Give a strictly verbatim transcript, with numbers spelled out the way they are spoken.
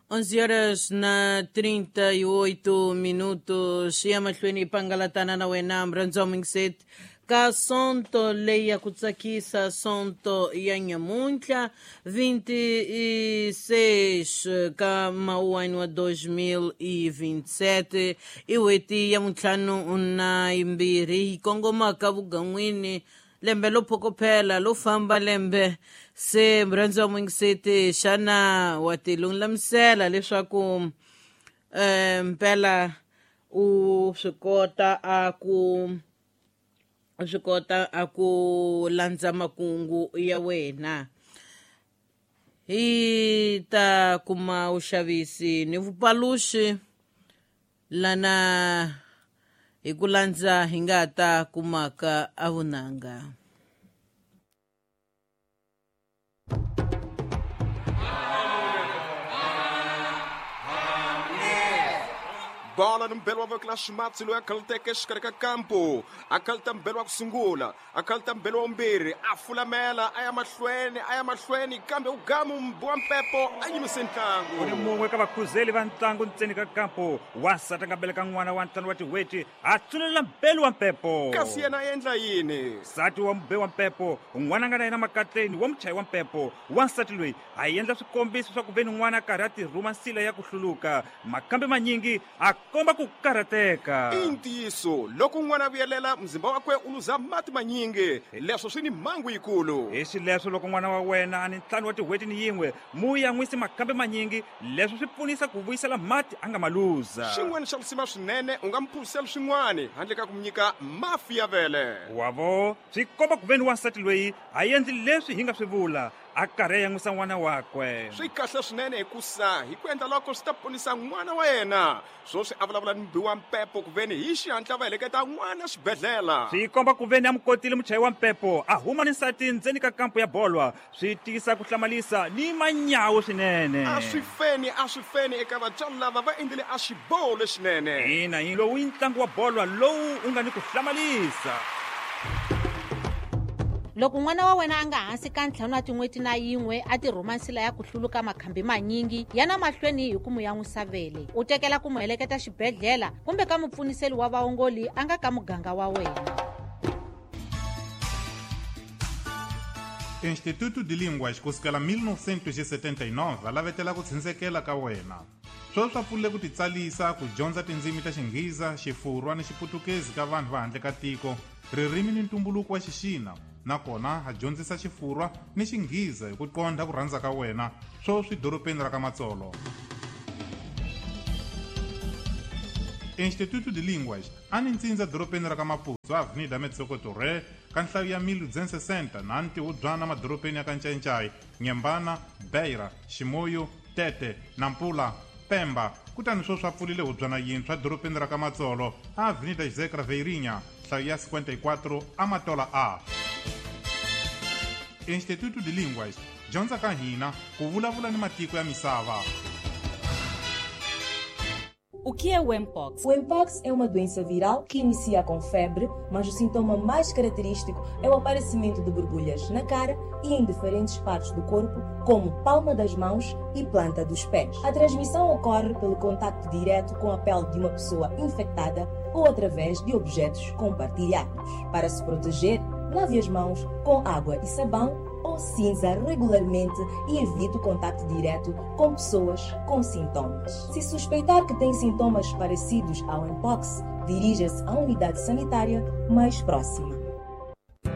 onze horas na trinta e oito minutos ya mahlweni pangalatana na wena mrhandzi wa mingiseti ka sonto leyi ya ku tsakisa sonto ya nyamuntlha vinte e seis ka mawuwani wa dois mil e vinte e sete i n'hweti ya muntlhanu na yimbirhi yi kongomaka vugan'wini lembe lo phokophela lo famba lembe se mrhandzi wa mingiseti xana wa ti lulamisela leswaku eh mpela u swi kota a ku swi kota a ku landza makungu ya wena hi ta kuma vuxavisi ni vupaluxi lana hi ku landza hi nga ta kumaka a vunanga. Bola ni mbelo wa voko la ximatsi loyi a khaluteke exikarhi ka kampo a khaluta mbelo wa ku sungula a khaluta mbelo wa vumbirhi a fulamela a ya mahlweni a ya mahlweni kambe u gamu wa mpepo a yimise ntlangu u ni mun'we ka vakhuzeli va ntlangu ntseni ka kampo wansati a nga beleka n'wana wa ntlhanu wa tin'hweti a tsunelela mbelo wa mpepo kasi yena a endla yini nsati wa mube wa mpepo n'wana a nga na yena makatleni wa muchayi wa mpepo wansati loyi a endla swikombiso swa ku ve ni n'wana a karhi a tirhuma nsila ya ku hluluka makambe manyingi a komba ku karhateka i ntiyiso loko n'wana a vuyelela muzimba wakwe u luza mati manyingi leswo swi ni mhangu yikulu hi xileswo loko n'wana wa wena a ni ntlhanu wa tin'hweti ni yin'we mu yan'wisi makambe manyingi leswo swi pfunisa ku vuyisela mati a nga ma luza xin'wana xa risima swinene u nga mu phuzisela swin'wana handle ka ku mu nyika mafi ya vele wavo swi komba ku ve ni wansati loyi a endli leswi hi nga swi vula a karhi a yan'wisa n'wana wakwe swi kahle swinene hikusa hi ku endla loko swi ta ponisa n'wana wa yena swoswi a vulavula ni mubi wa mpepo ku veni hi xihatla va heleketa n'wana xibedhlele swi komba ku veni a mu kotile muchayi wa mpepo a huma ni nsati ndzeni ka kampo ya bolwa swi tiyisa ku hlamalisa ni manyawu swinene a swi feni a swi feni eka vatswari lava va endlile a xiboho lexinene ina yi lowu i ntlangu wa bolwa lowu u nga ni ku hlamalisa. Loko n'wana wa wena a nga hansi ka ntlhanu wa tin'hweti na yin'we a tirhuma nsila ya ku hluluka makhambi manyingi yana mahlweni hi ku mu yan'wisa vele u tekela ku mu heleketa xibedhlele kumbe ka mupfuniseli wa vaongoli a nga ka muganga wa wena. Instituto de Línguas kusukela mil novecentos e setenta e nove a lavetela ku tshundzekela ka wena sweswi swa pfulile ku titsalisa ku dyondza tindzimi ta Xinghiza, Xifurwa ni Xiputukezi ka vanhu va handle ka tiko, ririmi ni ntumbuluko wa Xixina nakona a dyondzisa Xifurwa ni Xinghiza hi ku qondha ku rhandza ka wena sweswi dorobeni ra ka Matsolo. Instituto de Línguas a ni ntsindza dorobeni ra ka Maputo Avenida Metsoko Torre ka nhlayo ya mil duzentos e sessenta na ntihubyana madorobeni ya ka Ncayincai, Nyembana, Beira, Ximoyo, Tete, Nampula, Pemba kutani sweswi a pfulile hubyana yintshwa dorobeni ra ka Matsolo Avenida José Craveirinha nhlayo ya cinquenta e quatro Amatola A. Instituto de Línguas dyondza ka hina ku vulavula ni matiko ya misava. O que é o Mpox? O Mpox é uma doença viral que inicia com febre, mas o sintoma mais característico é o aparecimento de borbulhas na cara e em diferentes partes do corpo, como palma das mãos e planta dos pés. A transmissão ocorre pelo contacto direto com a pele de uma pessoa infectada ou através de objetos compartilhados. Para se proteger, lave as mãos com água e sabão ou cinza regularmente e evite o contacto direto com pessoas com sintomas. Se suspeitar que tem sintomas parecidos ao Mpox, dirija-se à unidade sanitária mais próxima.